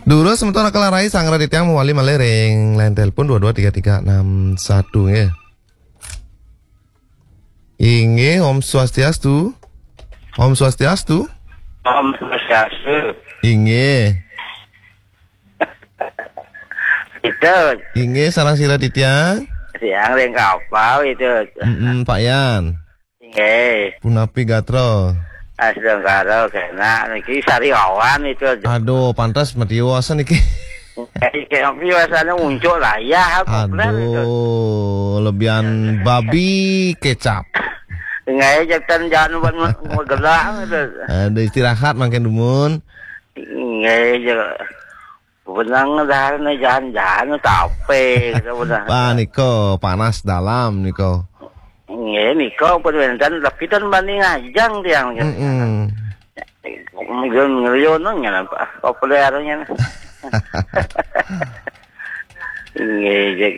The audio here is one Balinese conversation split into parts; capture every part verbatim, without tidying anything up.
Durus semeton Raka lan Rai, sanggra titiang mawali malih ring line telepon dua dua tiga tiga enam satu nggih. Inggih, Om Swastiastu. Om Swastiastu. Om Swastiastu. Inggih. Itu. Inggih, sareng sira titiang? Siang ring kapal itu. Mm-mm, Pak Yan. Inggih. Punapi gatra? Astungkara kenak niki sariawan itu. Aduh, pantes matiwas niki. Nggih, kaya piwasane uncuk layah, apa plan itu? Aduh, lebihan babi kecap. Nggih, jek ten jangan ban-, magelang itu. Aduh, istirahat mangkin dumun. Nggih, jek benang darane jalan-jalan tape gitu, bener. Wah, nika panas dalam nika. Nggih, nika pun wenten, tapi ten bani ngajeng tiang. Mm-mm. Mungkin ngeriyono ngene, Pak. Populer ngene. Nggih, jek.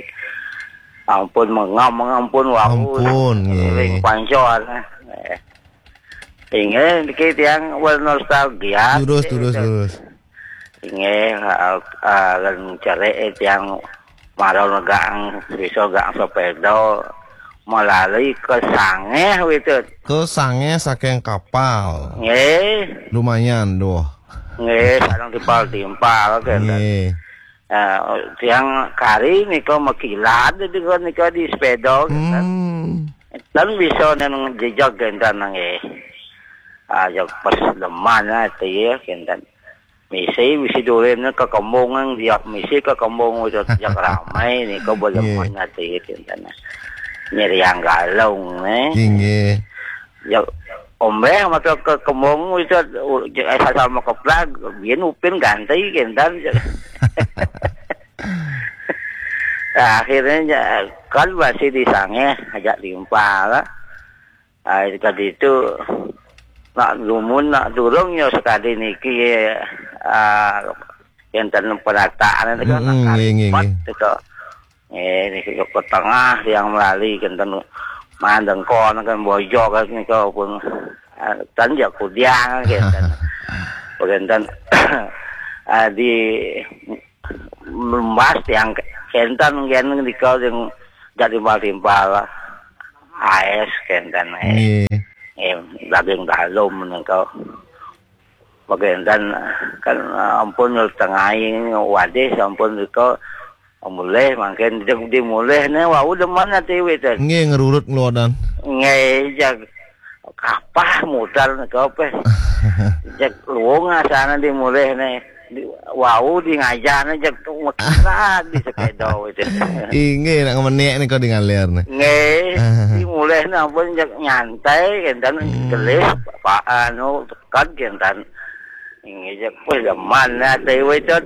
Ampun, mengam, ampun, wau. Ampun, nggih. Ring pancor. Eh. Inggih, niki tiang wal nostalgia. Durus, durus, durus. Inggih, ah, ah, lan cerik tiang mara negak bisa gak sepeda melalui ke Sangeh, Witut. Ke Sangeh saking kapal. Nggih. Lumayan, duh. Nggih, sareng timpal-timpal, kenten. Nggih. Ah, tiang kari nika makilat nika, nika di sepeda, kenten. Hmm. Ten bisa nang jejak, kenten, nggih. Ah, jek pas leman ati, kenten. Misi, misi durin ke kembung, dia misi ke kembung, udah jak ramai nika, beleman ati, kenten. Nyeriang galung, eh. Inggih. Ya, ombeh mata ke kembung itu, eh, sasal makeplag, biyen upin ganti, kenten. Nah, akhirnya, ya, kan masih di Sangeh, ajak timpal lah. Ah, itu tadi itu, nak dumun, nak durung, ya, sekali niki, ah, kenten penataan itu kan, mm-mm, nggih, nggih, nggih. Itu. Eh, niki ke tengah yang melali, kenten mandengkon kan bojo kan nika pun, ah, tan ya kudiang, kenten. Kenten, ah, di lembas yang kenten, kenten nika yang jadi timpal-timpal. Aes kenten, eh. Nggih. Eh, daging dalem nika. Bagian kan ampun tengai wadih sampun rika mulih mangkin, jek di mulih ne wau demen ati wit. Nggih, ngerurut ngelodan. Nggih, jek kapah mutar nika peh. Jek luung asane di mulih ne. Di, wau di ngajah ne jek mekilat di sepeda wit. Inggih, nak ngemenek nika di ngaler ne. Nggih, di mulih ne ampun jek nyantai kenten. Hmm. Gelis, pa-, anu, kad kenten. Inggih, jek, wih, demen ati wit, Tut.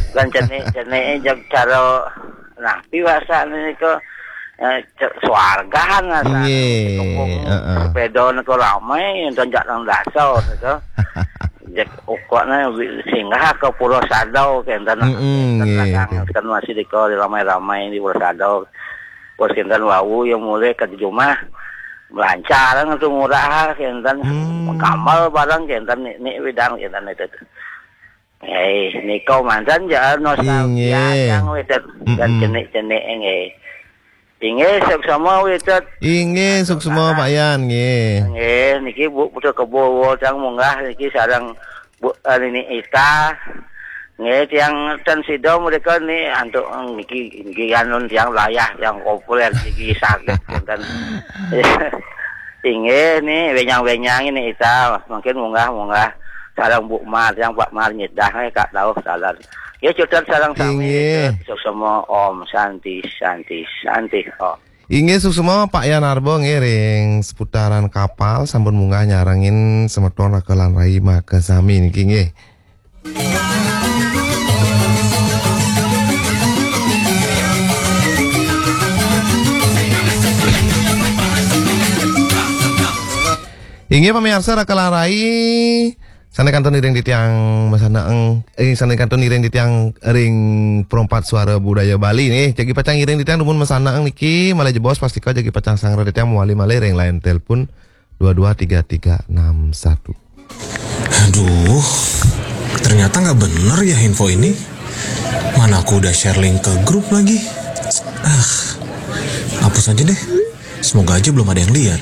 Kan cenik-cenik jek cara napi wasane nika, eh, ce-, swargan rasane. Nggih, heeh. Sepeda nika ramai, enten jak nang dasa nika. Jek ukokne wi-, singgah ke Pulau Sadau, kenten. Mm-mm, kenten nggih. Kan masih nika ramai-ramai di Pulau Sadau. Terus kenten wau ya mulih ke jumah. Melancar ngetu murah kenten. Hmm. Kamal barang kenten ni, ni widang kenten itu. Eh, nika manten ja nostalgia. Inggih. Yang wit dan, mm-mm, cenik-cenik nggih. Inggih, suksma wit. Inggih, suksma Pak Yan nggih. Nggih, niki Bu Putu Kebo tang munggah niki sareng Bu, eh, Nini Ita. Nggih, tiang ten sida mereka ni antuk niki, niki anu tiang layah, tiang populer, niki sakit kenten. Inggih, ni wenyang-wenyang ni Ita, mungkin munggah-munggah sareng Bu Mar, yang Pak Mar nyedah, eh, Kak Dauh salam. Ya, cutet sareng sami, inggih. Cutet, suksma, Om Santi, Santi, Santi, Om. Inggih, suksma Pak Yan Arbo nggih ring seputaran kapal sampun munggah nyarengin semeton Raka lan Rai makasami niki nggih. Inggih pamiarsa Raka lan Rai, sane kantun iring titiang masanaeng, eh, sane kantun iring titiang ring Perompak Suara Budaya Bali nih. Jagi pacang iring titiang dumun masanaeng niki malih jebos pastika jagi pacang sanggra titiang mawali malih ring line telepon dua dua tiga tiga enam satu. Aduh, Ternyata nggak bener ya info ini. Mana aku udah share link ke grup lagi. Ah, hapus aja deh. Semoga aja belum ada yang lihat.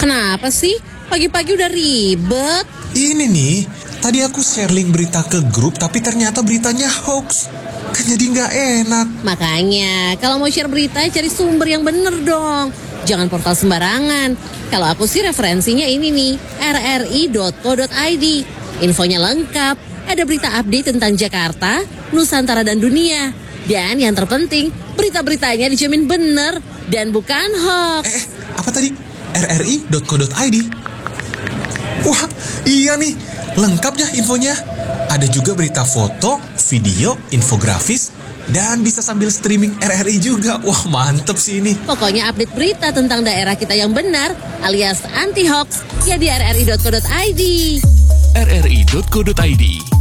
Kenapa sih? Pagi-pagi udah ribet. Ini nih, tadi aku share link berita ke grup tapi ternyata beritanya hoax. Kan jadi nggak enak. Makanya, kalau mau share berita, cari sumber yang bener dong. Jangan portal sembarangan. Kalau aku sih referensinya ini nih, rri.co.id. Infonya lengkap. Ada berita update tentang Jakarta, Nusantara dan dunia. Dan yang terpenting, berita-beritanya dijamin bener dan bukan hoax. Eh, apa tadi? rri.co.id. Wah, iya nih, lengkap ya infonya. Ada juga berita foto, video, infografis, dan bisa sambil streaming RRI juga. Wah, mantep sih ini. Pokoknya update berita tentang daerah kita yang benar alias anti hoax ya di rri.co.id. rri.co.id.